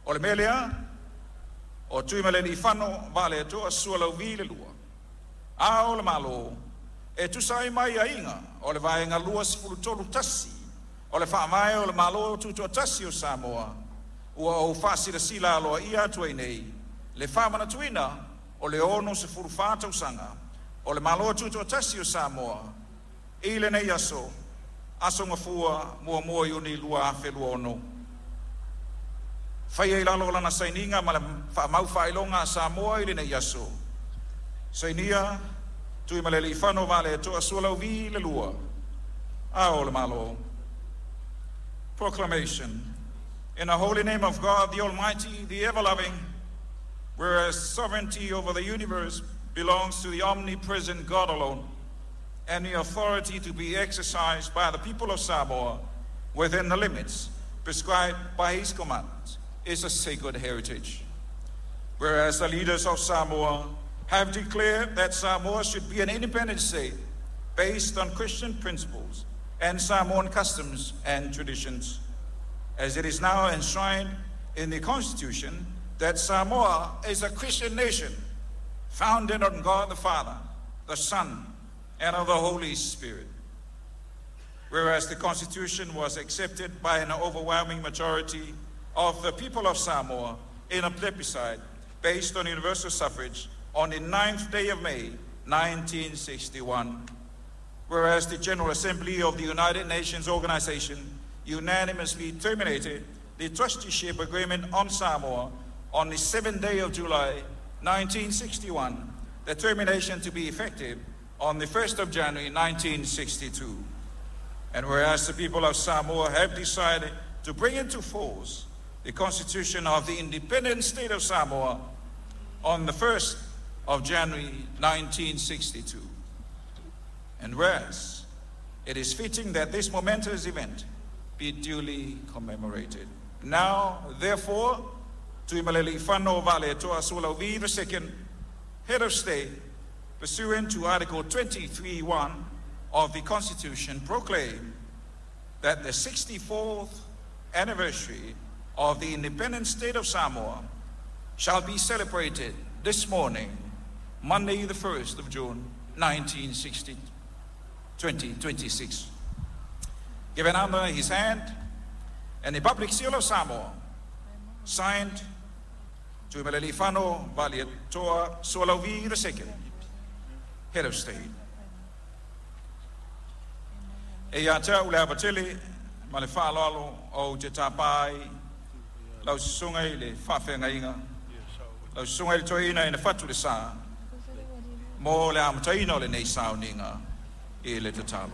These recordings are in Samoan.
O le mea lea, o Tuimalealiifano Vaaletoa Sualauvi II, Ao o Le Malo, e tusa ai ma aiaiga o le Vaega 23(1) o le Faavae o le Malo Tutoatasi o Samoa, ua ou faasilasila aloaia atu ai nei le faamanatuina o le 64 tausaga o le Malo Tutoatasi o Samoa i lenei aso, aso Gafua, 1 Iuni 2026. Faia i lalo o lana sainiga ma le faamau faailoga a Samoa i lenei aso. Sainia: Tuimalealiifano Vaaletoa Sualauvi II, Ao o Le Malo. Proclamation. In the holy name of God, the Almighty, the ever-loving, whereas sovereignty over the universe belongs to the omnipresent God alone, and the authority to be exercised by the people of Samoa within the limits prescribed by His commandments is a sacred heritage. Whereas the leaders of Samoa have declared that Samoa should be an independent state based on Christian principles and Samoan customs and traditions, as it is now enshrined in the Constitution that Samoa is a Christian nation founded on God the Father, the Son, and of the Holy Spirit. Whereas the Constitution was accepted by an overwhelming majority of the people of Samoa in a plebiscite based on universal suffrage on the 9th day of May, 1961. Whereas the General Assembly of the United Nations Organization unanimously terminated the trusteeship agreement on Samoa on the 7th day of July, 1961, the termination to be effective on the 1st of January, 1962. And whereas the people of Samoa have decided to bring into force the Constitution of the Independent State of Samoa on the 1st of January 1962. And whereas it is fitting that this momentous event be duly commemorated. Now, therefore, Tuimalealiifano Vaaletoa Sualauvi II, Head of State, pursuant to Article 23(1) of the Constitution, proclaim that the 64th anniversary of the Independent State of Samoa shall be celebrated this morning, Monday, the 1st of June, 1960, 2026. Given under his hand and the public seal of Samoa, signed Tuimalealiifano Vaaletoa Sualauvi II, Head of State. E ia te au le ava tele ma le faaaloalo ou te tapa ai lau susuga i le faafeagaiga, lau susuga i le toeaina ina Fatu Lesa, mo le amataina o lenei sauniga i le tatalo.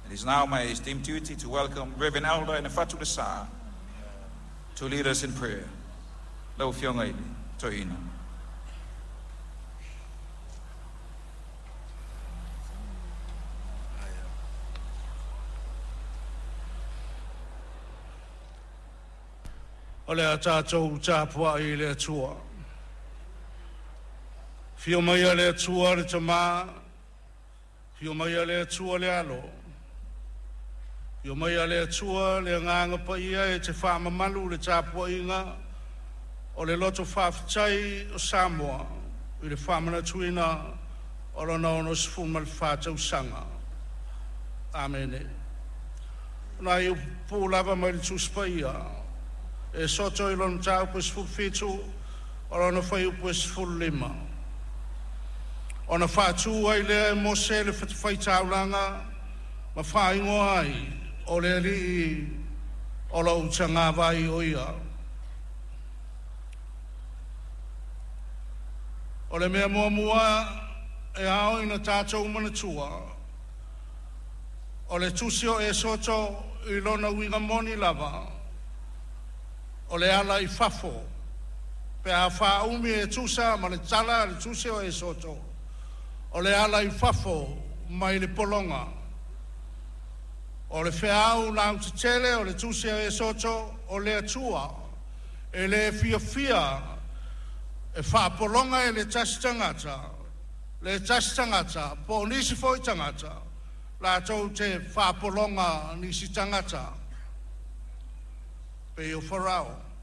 It is now my esteemed duty to welcome Reverend Elder Ina Lesa to lead us in prayer. Lau Afioga i le Toeaina. O le a tatou tapuai i le Atua. Afio maia le Atua le Tamā, afio maia le Atua le Alo, afio maia le Atua le Agaga Paia e te faamamalu le tapuaiga o le loto faafetai o Samoa i le faamanatuina o lona 64 tausaga. Amene. O nai upu pupuu lava mai le Tusi Paia, Esoto i lona mataupu e 17, o lona fuaiupu e 15. Ona faatu ai lea e Mose le fatafaitaulaga ma faaigoa ai o le Alii o lou tagavai o ia. O le mea muamua e ao ina tatou manatua, o le tusi o Esoto i lona uiga moni lava, o le ala i fafo, pe a faaumi e tusa ma le tala a le tusi o Esoto, o le ala i fafo mai le pologa. O le feau lautetele o le tusi a Esoto o le Atua, e le fiafia e faapologa e le tasi tagata, le tasi tagata, po o nisi foi tagata, latou te faapologa nisi tagata, pei o Farao.